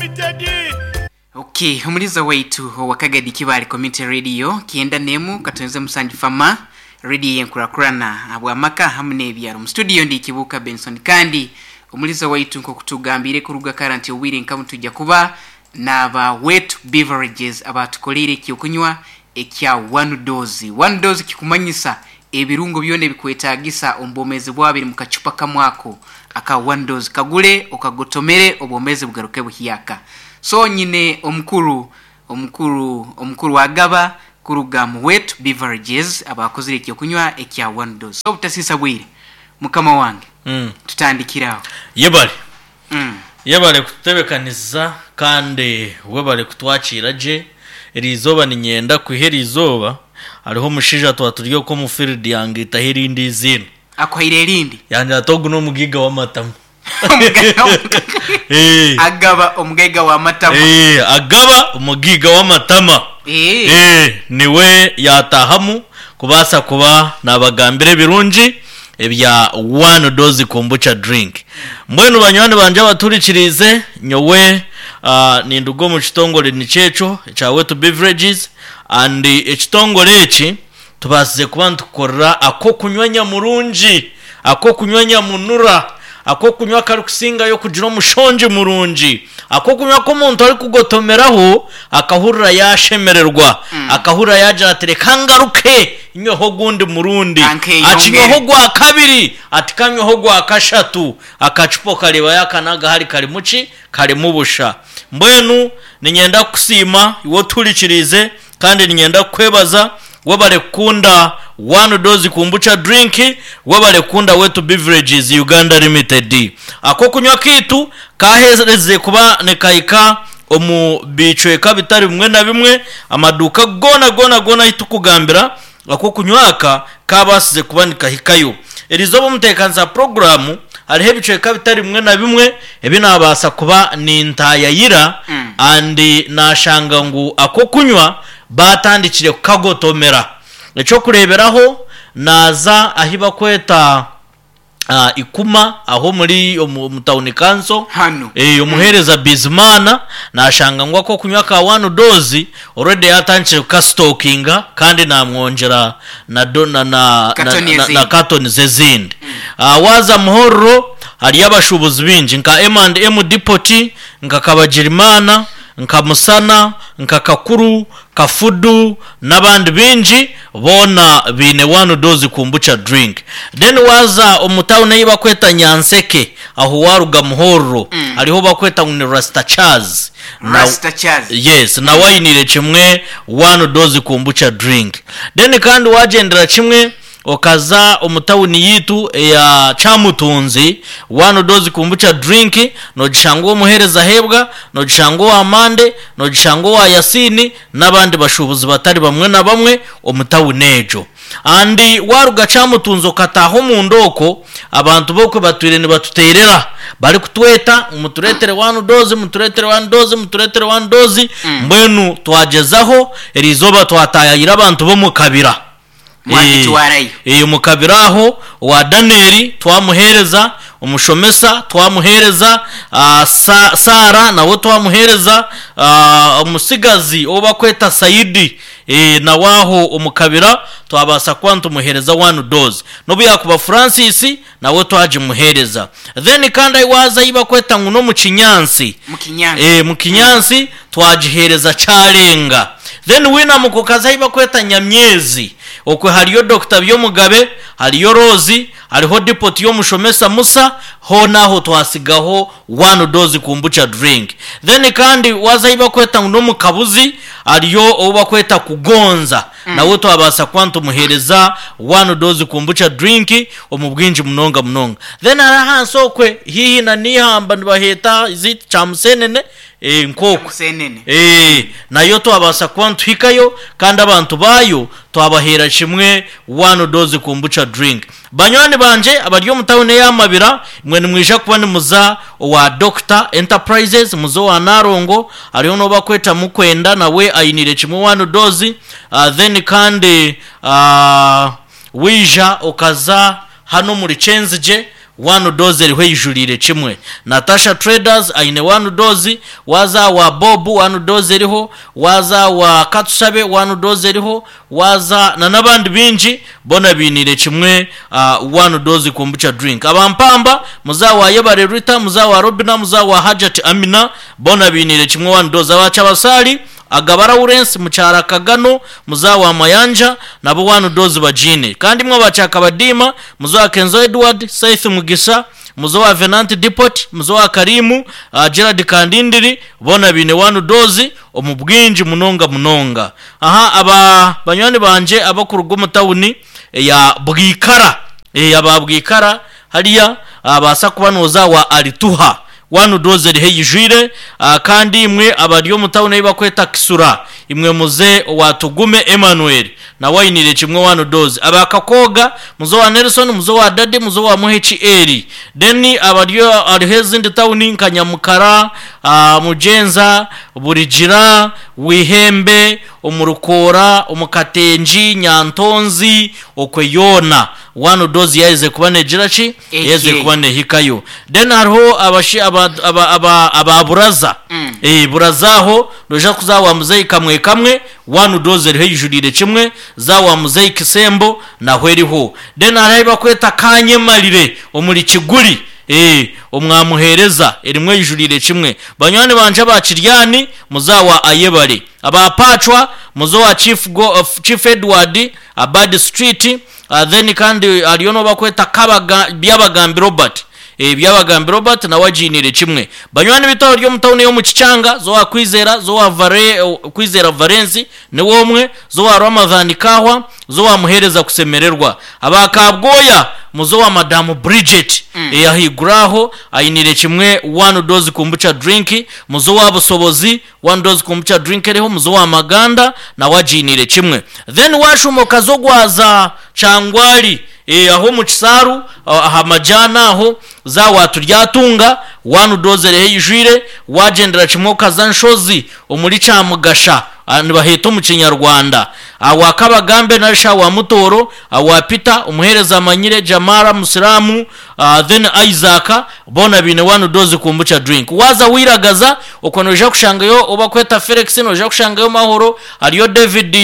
Limited. Ok, omuliza waitu owa Kagadi Kibaale Community Radio 91 Katonze Musanju Fama Radio eyenkurakurana ahabw'amaka hamu n'ebyaro. Mu studio ndi Kibuuka Benson kandi omuliza waitu nk'okutugambiire kuruga kara nti obwire nka bunu twija kuba n'aba Wet Beverages abaatukoleire eky'okunywa ekya One Dose. One Dose kikumanyisa ebirungo byona ebikwetagisa omu bwomeezi bwawe biri mu kacupa kamwe ako aka One Dose. Kagure okagotomere obwomeezi bugaruke buhyaka. So nyine omukuru omukuru omukuru Agaba kuruga mu Wet Beverages abaakozire eky'okunywa ekya One Dose. So obutasiisa bwire mukama wange tutandikire aho. Yebare. Yebare kututebekanisiza kandi webare kutwakiira gye. Eriizooba niinyenda kwiha eriizooba hariho omushaija twaba turi okwo omu field yangaitaho erindi eiziina. Akuhaire erindi? Yangira ati ogu n'omugaiga w'amatamu. Agaba omugaiga w'amatama. Agaba omugaiga w'amatama. Niwe yaataahamu kubaasa kuba naabagambira ebirungi ebya One Dose Kombucha Drink. Mbwenu banywani bangye abatuhurikiriize, nyowe ninduga omu kitongore nikyo ekyo ekya Wetu Beverages and ekitongore eki tubaasize kuba nitukukorera ak'okunywa nyamurungi, ak'okunywa nyamunura, ak'okunywa akarikusingayo kugira omushongi murungi, ak'okunywa aku omuntu arikugotomeraho akahurira yaashemererwa, akahurira yaagira ati reka ngaruke nyweho ogundi murundi, akinywaho ogwa kabiri, ati kanyweho ogwa kashatu, akacupa okareeba yaakanaga ahari karimu ki? Karimu busha. Mbwenu niinyenda kukusiima iwe otuhurikiriize Kandi niinyenda kukwebaza webare kukunda One Dose Kombucha Drink, webare kukunda Wetu Beverages Uganda Limited. Ak'okunywa kaitu kaaherize kuba nikahika omu bicweka bitari bimwe na bimwe, amaduuka goona goona goona ahu turikugambira ak'okunywa aka kaabaasize kuba nikahikayo. Erizooba omuteekanisa puroguraamu hariho ebicweka bitari bimwe na bimwe ebi naabaasa kuba nintaayayira and naashanga ngu ak'okunywa baatandikire kukagotomera. Eky'okureeberaho, naaza ahi bakweta Ikuma aho omuri omu tawuni kanso, Hanu. omuheereza Bizimana naashanga ngu ak'okunywa ka one dose already yaatandikire kukasitokinga kandi naamwongyera na do na na Katoni na na ezindi. katonizi ezindi. Waaza Muhorro hariyo abashuubuzi baingi nka M and M Depot, nka Kabagirimana, nka Musana, nka Kakuru, Kafudu n'abandi baingi boona baine one dose kombucha drink. Then waaza omu town ei bakweta Nyanseke aho waaruga Muhorro hariho ou bakweta ngu ni Rasta Charles na Rasta Charles. yes nawe ainiire kimwe one dose kombucha drink. Then kandi waagyendera kimwe Okaza omu tawuni yaitu eya Kyamutunzi, one dose kombucha drink nogishanga ow'omuheereza Hebwa, nogishanga owa Mande, nogishanga owa Yasini n'abandi bashuubuzi batari bamwe na bamwe omu tawuni egyo. And waruga Kyamutunzi okataaha omunda okwo, abantu b'okwe batwire nibatuteerera barikutweta ngu mutureetere one dose, mutureetere one dose, mutureetere one dose, mbwenu twagyezaho, eriizooba twataayayira abantu b'omu kabira. Mwagitwarayo. Ee, omu kabiro aho, owa Danieli twamuheereza, omushomesa twamuheereza, Sa, Saara nawe twamuheereza, omutsigazi ou bakweta Saidi, ee, nawe aho omu kabira twabaasa kuba nitumuheereza one dose. N'obu yaakuba Francis, nawe twagimuheereza. Then kandi ahi waaza ahi bakweta ngu n'omu kinyaatsi, Mu kinyaatsi. ee, mu kinyaatsi twagiheereza kyarenga. Then wainamuka okaza ahi bakweta Nyamyezi, okwe hariyo Dokita Byomugabe, hariyo Rose, hariho depot y'omushomesa Musa, hoona aho twasigaho one dose kombucha drink. Then kandi waaza ahi bakweta ngu n'omu Kabuzi, hariyo ou bakweta Kugonza, nawe twabaasa kuba nitumuheereza one dose kombucha drink omu bwingi munonga munonga. Then hariho ahansi okwe haihi na n'eihamba nibaheeta is it Kyamusenene? Eh, nk'okwe. Kyamusenene. Eh, nayo twabaasa kuba nituhikayo kandi abantu baayo twabaheera kimwe one dose kombucha drink. Banywani bangye abari omu tawuni eya Mabira, imwe nimwija kuba nimuza owa Dokita Enterprises, muze owa Nalongo, hariho n'ou bakweta Mukwenda nawe ainiire kimwe one dose, then kandi waija okaza hanu omuri Kyenzigye, One dose eriho eijuriire kimwe. Natasha Traders aine one dose, waaza awa Bob one dose eriho, waaza awa Katushabe one dose eriho, waaza na n'abandi baingi boona bainiire kimwe one dose kombucha drink. Aba Mpamba, muze awa Yebare Rita, muze awa Robina, muze awa Hajati Amina boona bainiire kimwe one dose. Aba Kyabasali, Agaba Lawrence, Mukyara Kagano, Muzaa wa Mayanja nabo one dose bagiine. Kandi imwe aba Kyakabadiima, Muzaa wa Kenzo Edward, Saith Mugisha, Muzaa wa Venant Depot, Muzaa wa Karimu, Gerald Kandindiri boona baine one dose omu bwingi munonga munonga. Aha aba banywani bangye abakuruga omu tawuni eya Bwikara, aba Bwikara hariya baasa kuba nooza wa Alituha. One dose eriho eyijwire, kandi imwe abari omu tawuni ei bakweta Kisura, imwe muze owa Tugume Emmanuel, nawe ainiire kimwe one dose. Aba Kakooga, muze owa Nelson, muze owa Daddy, muze owa Muheki Eli. Then abari hariho ezindi tawuni nka Nyamukara, Mugyenza, Burigira, Wihembe, omu Rukoora, omu Katengi, Nyantonzi, okwe yoona one dose yaaherize kuba neegira ki? Yaaherize kuba neehikayo. Then hariho abashi aba aba aba aba Buraza. Eh, Buraza aho noija kuza wa muzeeyi Kamwe Kamwe, one dose eriho eijuriire kimwe, za wa muzeeyi Kisembo naho eriho. Then hariho ahi bakweta Kanyemarire omuri Kiguli. Ee, omwamuheereza, erimu eijuriire kimwe. Banywani bangye aba Kiryani, muze awa Ayebare. Aba Pacwa, muze owa Chief Go, Chief Edward, Abad Street, then kandi hariyo n'ou bakweta Kabaga, Byabagambi Robert. Ee, Byabagambi Robert nawe agiiniire kimwe. Banywani baitu abari omu tawuni ey'omu Kikyanga, ze owa Kwizera, ze owa Vare, Kwizera Valensi, niwe omwe, ze owa Ramadhan Kahwa, Muze owa Muheereza Kusemererwa. Aba Kabwoya, muze owa Madamu Bridget. Ahaiguru aho ainiire kimwe one dose kombucha drink. Muze owa Busobozi, one dose kombucha drink eriho. Muze owa Maganda nawe agiiniire kimwe. Then waashuuma okaza ogwaza Kyangwali, aho omu Kisaaru aha majaani aho, za wa Turyatunga, one dose eriho eijwire. Waagyendera kimwe okaza Nshozi omuri Kyamugasha, Nibaheeta omu Kinyarwanda. Awa Kabagambe nari shi awa Mutooro, awa Peter, omuheereza amanyire, Jamara, Musiraamu, then Isaac, boona baine one dose kombucha drink. Waaza wairagaza, okwo noija kushangayo ou bakweta Felix, noija kushangayo Mahoro, hariyo David,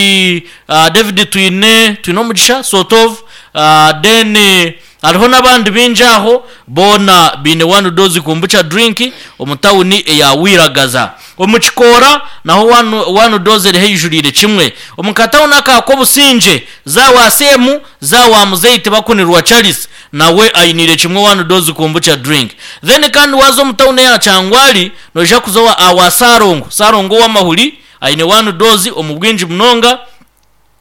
David Twine, Twinomugisha, sort of, then Hariho n'abandi baingi aho, boona baine one dose kombucha drink omu tawuni eya Wiragaza. Omu Kikoora naho one one dose eriho eijuriire kimwe. Omu katawuni aka Kobusingye, za wa Seemu, za wa Muzeeyi Tibakunirwa Charles nawe ainiire kimwe one dose kombucha drink. Then kandi waaza omu tawuni eya Kyangwali, noija kuza owa awa Ssalongo, Ssalongo ow'amahuri aine one dose omu bwingi munonga.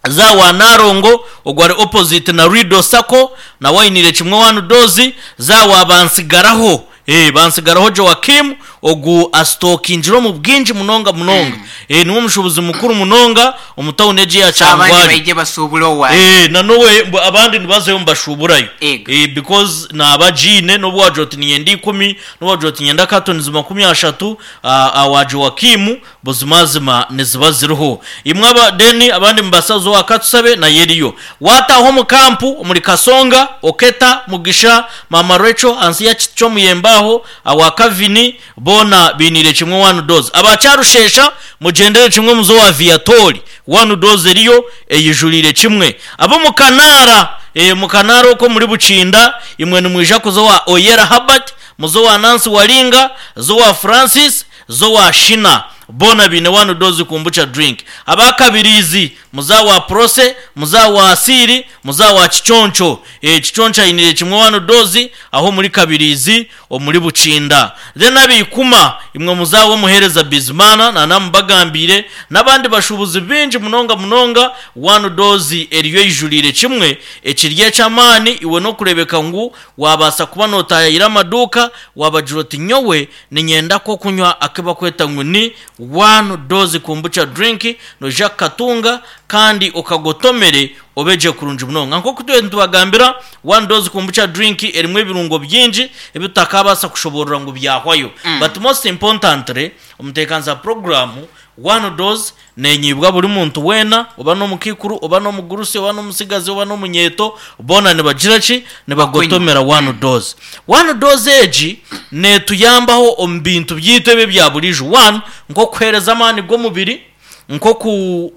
Za wa Nalongo ogwo ari opposite na Rido Sacco nawe ainiire kimwe one dose, za wa Bansigaraho eh Bansigaraho Joachim ogu asitokingire omu bwingi munonga munonga eh niwe omushubuzi mukuru munonga omu tawuni egi eya So abandi Kyangwali. baije basuubure owaye. Eh na nowe mbu abandi nibazayo nibashuuburayo Ego. eh because naaba agiine nobu wagira oti niinyenda ikumi nobu wagira oti niinyenda cartons 30 awa Joachim Buzimazima niziba ziriho. Imwe aba then abandi mubaasa kuza owa Katusabe nayo eriyo. Waataaha omu kampu omuri Kasonga, Oketa, Mugisha, Maama Rachel, ahansi ya kiti ky'omuyembe aho, awa Kavini, boona bainiire kimwe one dose. Aba Kyarushesha mugyendere kimwe muze owa Viatori, one dose eriyo eyijuriire kimwe. Ab'omu Kanaara, omu Kanaara okwo omuri Bukinda, imwe nimwija kuza owa Oyera Herbert, muze owa Nancy Walinga, ze owa Francis, Zowa Shina boona baine one dose kombucha drink. Aba Kabiriizi muza wa Prose, muza wa Asiiri, muza wa Kiconco. Eeh Kiconco ainiire kimwe one dose aho omuri Kabiriizi omuri Bukinda. Then ab'Ikuma imwe muza w'omuheereza Bizimana nanamubagambiire n'abandi bashuubuzi baingi munonga munonga one dose eriyo eijuriire kimwe ekiri eky'amaani iwe n'okureebeka ngu waabaasa kuba nootaayaayira amaduuka waabagira oti nyowe Niinyenda ak'okunywa aku bakweta ngu ni One Dose Kombucha Drink, noija kukatunga kandi okagotomere. Obe gye kurungi munonga. Nk'oku tubire nitubagambira, One Dose Kombucha Drink erimu ebirungo bingi ebi tutakaabaasa kushoboorora ngu byahwayo. But most importantly, omuteekanisa puroguraamu, One Dose neenyiibwa buri muntu weena, oba n'omukaikuru, oba n'omugurusi, oba n'omutsigazi, oba n'omunyeeto, boona nibagira ki? Nibagotomera One Dose. One Dose egi neetuyambaho omu bintu byaitu ebi ebya buriijo. One, nk'okuheereza amaani g'omubiri. Nk'oku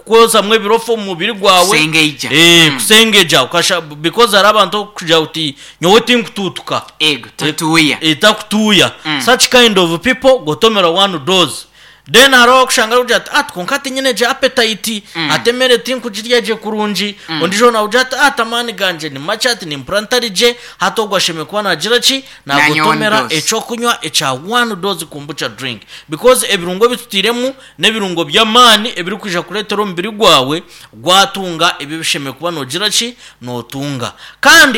kwozamu ebirofa omu mubiri gwawe. Kusengeija. Eh, kusengeja okasha because hariho abantu okugira oti nyowe tinkutuutuka. Ego, tatuuya. Eh, takutuuya. Such kind of people gotomera one dose. Then hariho abakushanga arikugira ati ati kwonka tinyine gye appetite, ati emere tinkugirya gye kurungi. Ondiijo nawe ati ati amaani gangye ni makye ati nimpurira ntari gye, hati ogwo ashemereire kuba naagira ki? Nanye one Nagotomera dose. eky'okunywa ekya one dose kombucha drink because ebirungo ebi tutairemu n'ebirungo by'amaani ebirikwija kureetera omubiri gwawe gwatunga ebi ebishemereire kuba noogira ki? Nootunga. Kandi.